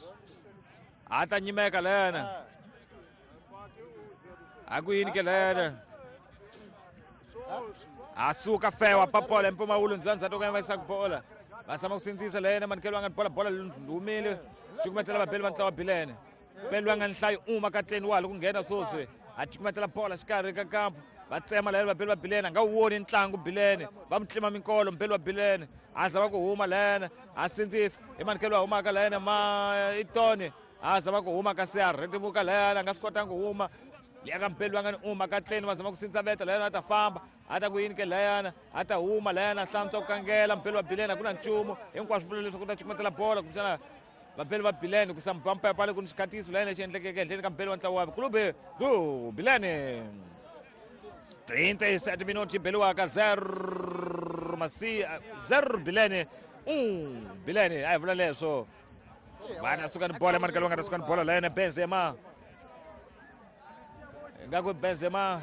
a ta nyimeka lena. A ku yini ke lena? A suka Feu a ba bolo hi mpfumawulo ndlula ndzhaku ka va yisa ku bola. Va zama ku sindzisa lena manikelo va nga ni bola bola humile cukumetela vabeli va ntlawa Bilene. Beli va nga ni nhlayo uma katleni wa ha loko nghena swoswi a cukumetela bola xikarhi ka kampu va tsema layena vabeli va Bilene a nga wu voni ntlangu Bilene va mu tlima minkolo mubeli wa Bilene a zama ku huma lena a sindzisa i manikelo wa humaka lena ma itoni a zama ku huma kasi a rhetimuka lena a nga swi kotanga ku huma liya ka mubeli va nga ni uma katleni va zama ku sindza veta lena a ta famba a ta ku yini ke layana a ta huma layana a hlantswa ku kangela mubeli wa Bilene a ku na nchumu hinkwaswo vula leswaku ta cukumetela bola kumbexana vabeli va Bilene ku sa Mpampepo le ku ni xikatiso layena lexi endlekeke ehenhleni ka mubeli wa ntlawa wa Clube do Bilene. trinta e sete minutos beliwaka zero Macia zero Bilene um Bilene a hi vula leswo va ta suka ni bola manikelo va nga ta suka ni bola layena Benzema ingaku Benzema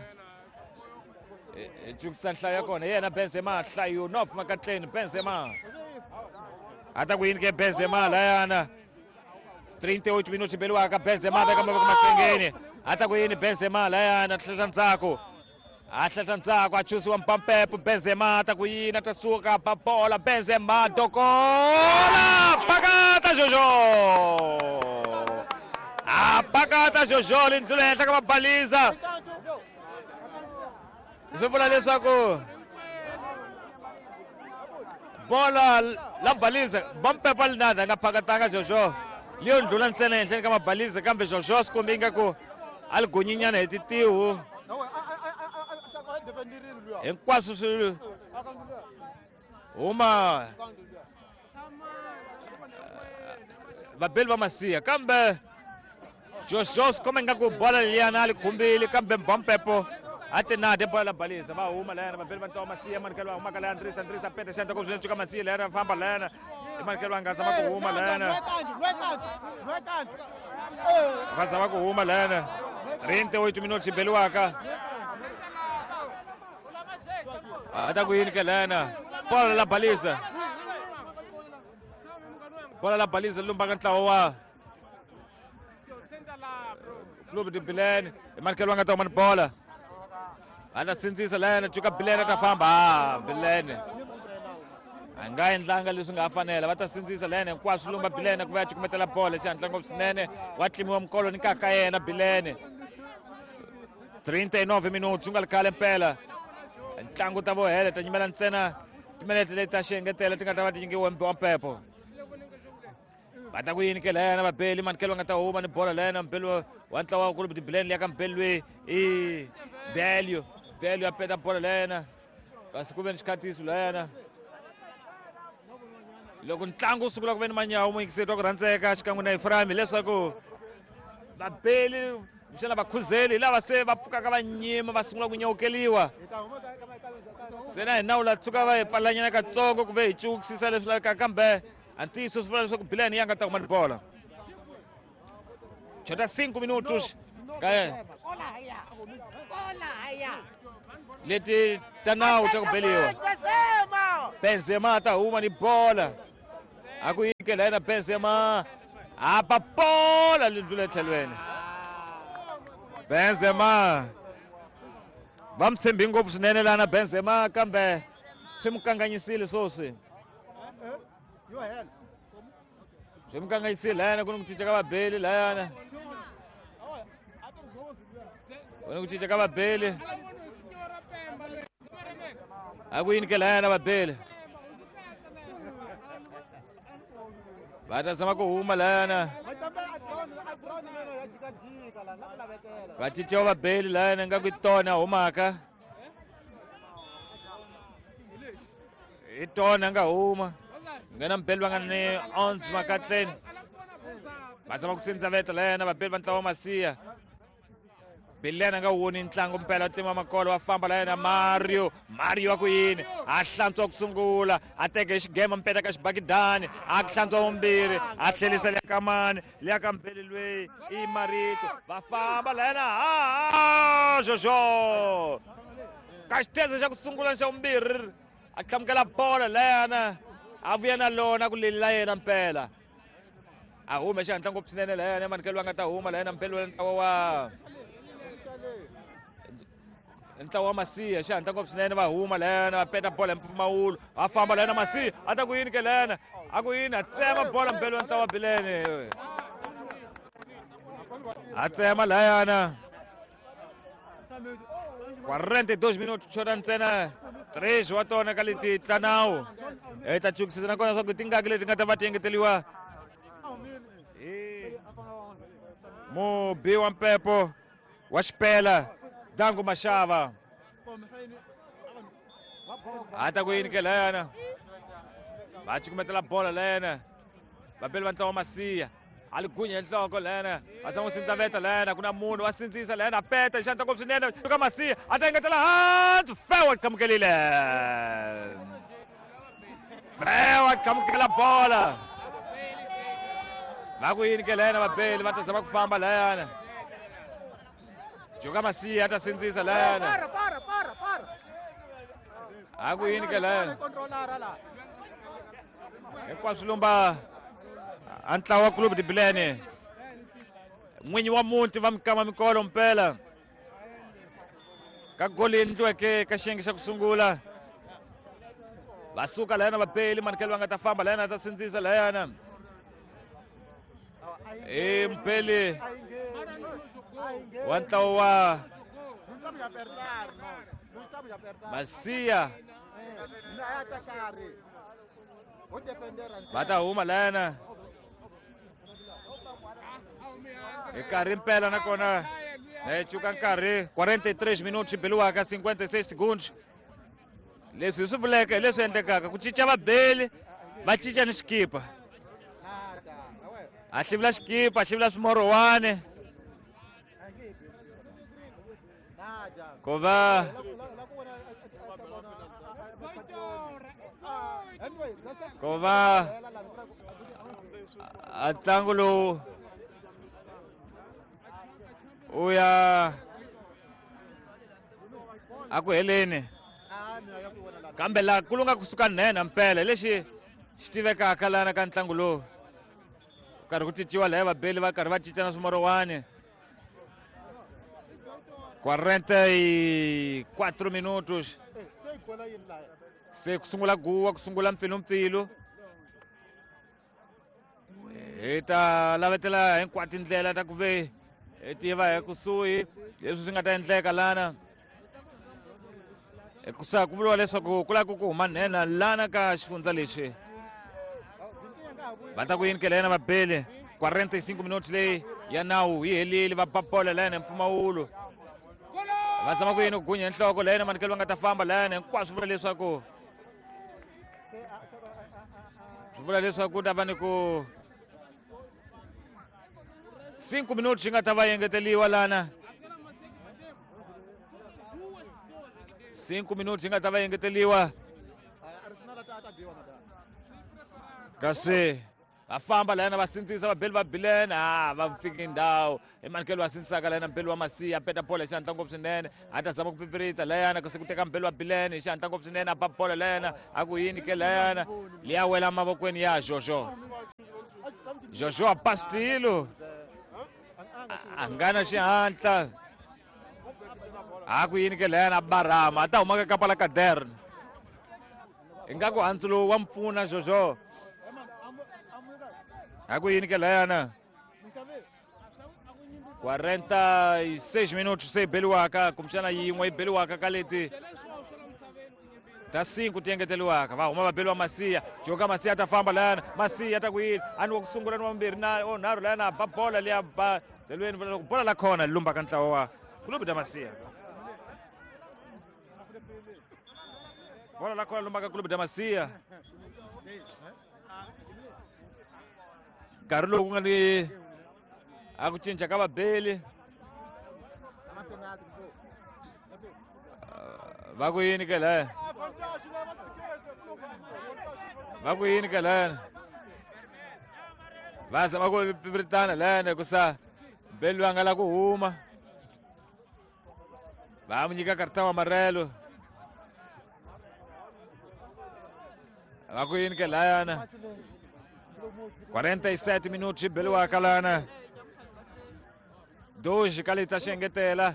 hi cukisa nhlayo ya kona yena Benzema nhlayo nof makatleni Benzema a ta ku yini ke Benzema layana trinta e oito minutos beliwaka Benzema veka mavoko masengeni a ta ku yini Benzema layana tlhela ndzhaku a hlehla ndzhaku a chusiwa Mpampepo Benzema a ta ku yini a ta suka ba bola Benzema dokola pakata Jojo a pakata Jojo li ndlula henhla ka mabaliza swi vula leswaku bola la baliza Mpampepo linada a nga phakatanga Jojo liyo ndlula ntsena henhleni ka mabaliza kambe Jojo swi kombi ingaku a li gonyinyana hi titihu hinkwaswo swi huma vabeli va Macia kambe Jojo swi komba ingaku bola liyana a li khumbile kambe Mpampepo a ti nade bola la balisa va huma layana vabeli va ntlawa Macia manikelo va humaka laya Andrisa Andrisa pete xandla ku swinene cuka Macia layana va famba layana i manikelo va nga zama ku huma layana va zama ku huma layana trinta e oito minutos beliwaka a ta ku yini ke lena bola la balisa bola la balisa lumbaka ntlawa wa Clube de Bilene i manikelo va nga ta huma ni bola a ta sindzisa lena cuka Bilene a ta famba a Bilene a nga endlanga leswi nga fanela va ta sindzisa lena hinkwaswo lumba Bilene ku va ya cukumetela bola xihatla ngopfu swinene wa tlimiwa mikolo ni kaka yena Bilene trinta e nove minutos nga ri khale mpela ntlangu ta vo hela ta nyimela ntsena timinete leti ta xiengetelo ti nga ta va ti nyikiwe wa mpepo va ta ku yini ke lena vabeli manikelo va nga ta huma ni bola lena mbeli wa ntlawa wa Clube de Bilene liya ka mbeli loyi i Delio Delio a peta bola lena kasi ku ve ni xikhatiso lena loko ntlangu wu sungula ku ve ni manyawu muyingiseri wa ku rhandzeka xikan'we na Ephraim hileswaku vabeli kumbexana vakhuzeli hi lava se va pfukaka va nyima va sungula ku nyawukeliwa se na hina wu la tshuka va hi pfalanyana katsongo ku ve hi cukisisa leswi lavekaka kambe a ntiyiso swi vula leswaku Bilene ya nga ta kuma ni bola chota cinco minutos ka leti ta nawu ta ku beliwa Benzema ta huma ni bola a ku yike la yena Benzema apa bola li ndlula etlhelweni Benzema va mi tshembi ngopfu swinene lana Benzema kambe swi mi kanganyisile swoswi swi mi kanganyisile layana ku ni ku cinca ka vabeli layana ku ni ku cinca ka vabeli a ku yini ke layana vabeli va ta zama ku huma layana va cinciwa vabeli layana nga ku i tona a humaka i tona a nga huma nghena mbeli va nga ni ons makatleni va zama ku sindza veta layana vabeli va ntlawa wa Masiya Bilene a nga woni ntlangu mpela tima makolo va famba layena Mario Mario wa ku yini a hlantswa ku sungula a teke xigema mpeta ka xibakidani a hlantswa vumbirhi a tlhelisa liya ka mani liya ka mbeli lweyi i Marito va famba layena ha Jojo ka xitheze xa ku sungula ni xa vumbirhi a hlamukela bola layana a vuya na lona ku leli la yena mpela a hume xihatla ngopfu swinene layana manikelo va nga ta huma layena mpela wa ntlawa wa ntlawa wa Masiya xihatla ngopfu swinene va huma layana va peta bola hi mpfumawulo va famba layana Masiya a ta ku yini ke layana a ku yini a tsema bola mpela wa ntlawa wa Bilene a tsema layana quarenta e dois minutos xota ntsena três wa tona ka leti ta nawu hi ta cukisisa nakona leswaku tingaki leti nga ta va ti engeteliwa hi mubi wa mpepo wa xipela Dangu Mashava a ta ku yini ke layana va cukumetela bola layana vabeli va ntlawa wa Masiya a li gunya hi nhloko layana a za n'wi sindzaveta layana ku na munhu wa sindzisa layana a peta hi xandla ngopfu swinene ka Masiya a ta engetela hansi Fewa qhamukelile Fewa qhamukela bola va ku yini ke layana vabeli va ta zama ku famba layana Joka Masiya a ta sindzisa layana a ku yini ke layana hinkwaswo lumba a ntlawa wa Clube de Bilene n'winyi wa muti va mikama mikolo mpela ka goli endliweke ka xiyenge xa ku sungula va suka layana vabeli manikelo va nga ta famba layana ta sindzisa layana i mpeli wa ntlawa wa Masiya va ta huma layana hi nkarhi mpela nakona na hi cuka nkarhi quarenta e três minutos xi beliwaka cinquenta e seis segundos leswi hi swi vuleke hi leswi endlekaka ku cinca vabeli va cinca ni xikipa a hlivula xikipa a hlivula swimorowani ku va ku va a ntlangu lowu u ya a ku heleni kambe laha ku lunga kusuka nhenha mpela lexi xi tivekaka lana ka ntlangu lowu karhi ku cinciwa laya vabeli va karhi va cinca na swimorowani quarenta e quatro minutos se ku sungula guwa ku sungula mpfilumpfilu hi ta lavetela hinkwato tindlela ta ku ve Hi tiva hi kusuhi leswi swi nga ta endleka lana. Hikusa ku vuriwa leswaku ku lava ku huma nhenha lana ka xifundza lexi. Va ta ku yini ke lena vabeli quarenta e cinco minutos leyi ya nawu yi helile va ba bola lana mpfumawulo. Va zama ku yini ku gunya nhloko lena manikelo va nga ta famba lana hinkwaswo vula leswaku swi vula leswaku ku ta va ni ku cinco minutos yi nga ta va engeteliwa lana. Cinco minutos yi nga ta va engeteliwa. Kasi va famba lana va sindzisa vabeli va Bilene ah va fiki ndhawu emanikelo va sindzisaka lana mbeli wa Masiya a peta bola hi xihatla ngopfu swinene a ta zama ku pipirita layana kasi ku teka mbeli wa Bilene hi xihatla ngopfu swinene a ba bola layana a ku yini ke layana liya wela mavokweni ya Jojo. Jojo a ba switilo a nga na xihatla a ku yini ke layana a barama a ta huma ka kapa la Cadern ingaku handzu lowu wa mpfuna Jojo. A ku yini ke layana quarenta e seis minutos se beliwaka kumbexana yin'we yi beliwaka ka leti ta cinco ti engeteliwaka. Va huma va beliwa Masiya joka Masiya ta famba layana Masiya ta ku yini a ni wa ku sungula ni wa vumbirhi na o nharhu layana ba bola liya ba delweni loko bola la khona lumba ka ntlawa wa Clube da Masia. Bola la khona lumba ka Clube da Masia. Nkarhi lowu ku nga ni a ku cinca ka vabeli va ku yini ke laya va ku yini ke laya va zama ku pipiritana layana hikusa beli loyi a nga la ku huma va mu nyika karta wa marelo va ku yini ke layana quarenta e sete minutos beliwaka lana dois ka leti ta xi engetela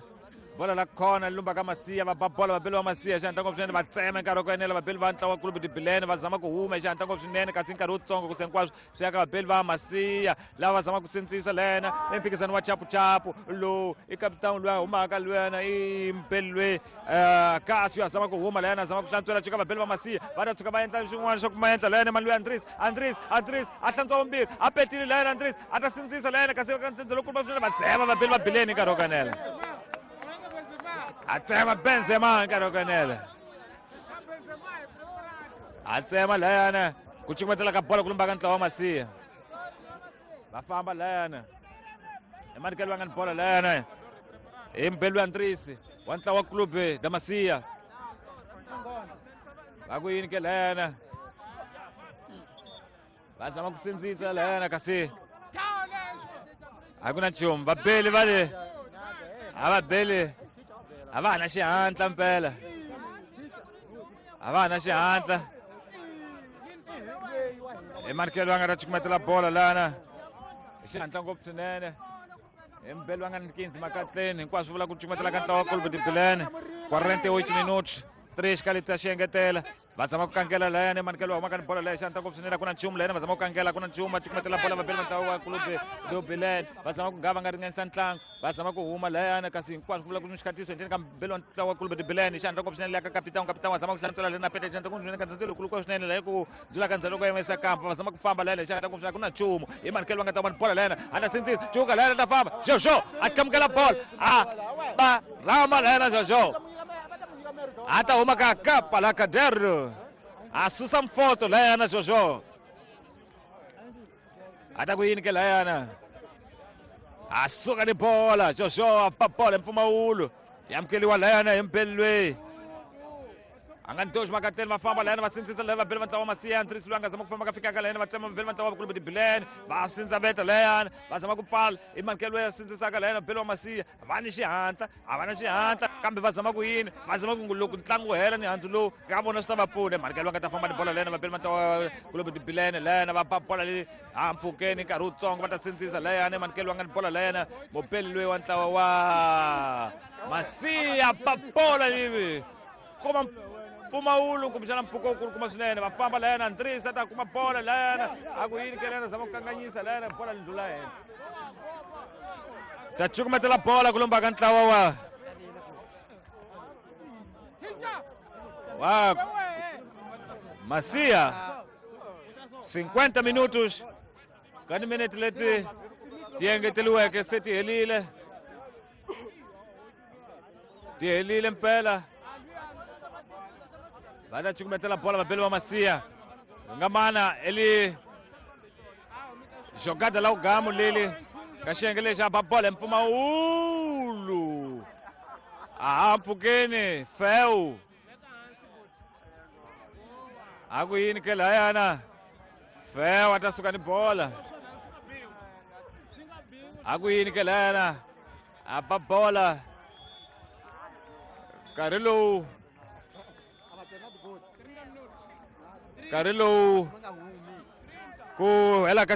bola la khona lumba ka Masiya va ba bola va beliwa Masiya xihatla ngopfu swinene va tsema nkarhi wa ku enela vabeli va ntlawa Clube de Bilene va zama ku huma xihatla ngopfu swinene kasi nkarhi wutsongo ku se hinkwaswo swi ya ka vabeli va Masiya lava va zama ku sindzisa lena i mphikizano wa chapuchapu lowu i kapitani loyi a humaka lwena i mbeli loyi kasi a zama ku huma lena a zama ku hlantswela tshuka vabeli va Masiya va ta tshuka va endla swin'wana swa ku ma endla lena mali loyi Andris Andris Andris a hlantswa vumbirhi a petile lena Andris a ta sindzisa lena kasi ka ntsindza lowukulu swinene va tsema vabeli va Bilene nkarhi wo kanela. A tsema Benzema nkarhi wo kanela. A tsema layana ku cukumetela ka bola ku lumba ka ntlawa wa Masiya. Va famba layana. Emanikelo va nga ni bola layana. I mbeli wa Andris wa ntlawa wa Clube da Masia. Va ku yini ke layana. Va zama ku sindzisa layana kasi a ku na nchumu vabeli va le a va beli a va ha na xihatla mpela a va ha na xihatla emanikelo va nga ta cukumetela bola lana hi xihatla ngopfu swinene hi mbeli va nga ni quinze makatleni hinkwaswo vula ku cukumetela ka ntlawa wa Clube de Bilene quarenta e oito minutos três ka leti ta xi engetela va zama ku kangela layana emanikelo va humaka ni bola leya xihatla ngopfu swinene a ku na nchumu layana va zama ku kangela ku na nchumu va cukumetela bola vabeli va ntlawa wa Clube do Bilene va zama ku nga va nga ringanisa ntlangu va zama ku huma layana kasi hinkwaswo ku vula ku ni xikhatiso endzeni ka mbeli wa ntlawa wa Clube de Bilene xihatla ngopfu swinene leya ka kapitani kapitani wa zama ku hlantswela lena pete xihatla ngopfu swinene ka ndzhendzelo lowukulu swinene leya ku dzula ka ndzhelo ku yimisa kampa va zama ku famba layana xihatla ngopfu swinene ku na nchumu hi manikelo va nga ta va ni bola layana a ta sindzisa cuka layana ta famba Jojo a tlamukela bola a ba rama layana Jojo a ta huma ka kapa la Caderno a susa mfoto layana Jojo a ta ku yini ke layana a suka ni bola Jojo a ba bola mpfumawulo ya amukeliwa layana hi mbeli loyi a nga ni dox makatleni va famba layana va sindzisa layana vabeli va ntlawa wa Masiya Andris loyi a nga zama ku famba ka fikaka layana va tsema vabeli va ntlawa wa Clube de Bilene va sindzaveta layana va zama ku pfala i manikelo loyi a sindzisaka layana vabeli wa Masiya va ni xihatla a va na xihatla kambe va zama ku yini va zama ku loko ntlangu wu hela ni handzu lowu ka vona swi ta va pfuna manikelo va nga ta famba ni bola layana vabeli va ntlawa wa Clube de Bilene layana va ba bola leyi hampfhukeni nkarhi wutsongo va ta sindzisa layana manikelo va nga ni bola layana mubeli loyi wa ntlawa wa Masiya ba bola leyi kuma mpfumawulo kumbexana mpfhuka wukulu kuma swinene va famba layana Andris a ta kuma bola layana a ku yini ke layana zama ku kanganyisa layana bola li ndlula henhla Ta cukumetela bola ku lombaka ntlawa wa wa Masia. Cinquenta minutos ka timinete leti ti engeteriweke se ti helile, ti helile mpela. Va ta cukumetela bola vabeli va Masia. Nga mana eli jogada la ugamu leli ka xiyenge lexi a ba bola hi mpfumawulo a ha mpfhukeni fewu a ku yini ke layana fewu a ta suka ni bola a ku yini ke layana a ba bola nkarhi lowu nkarhi lowu ku hela ka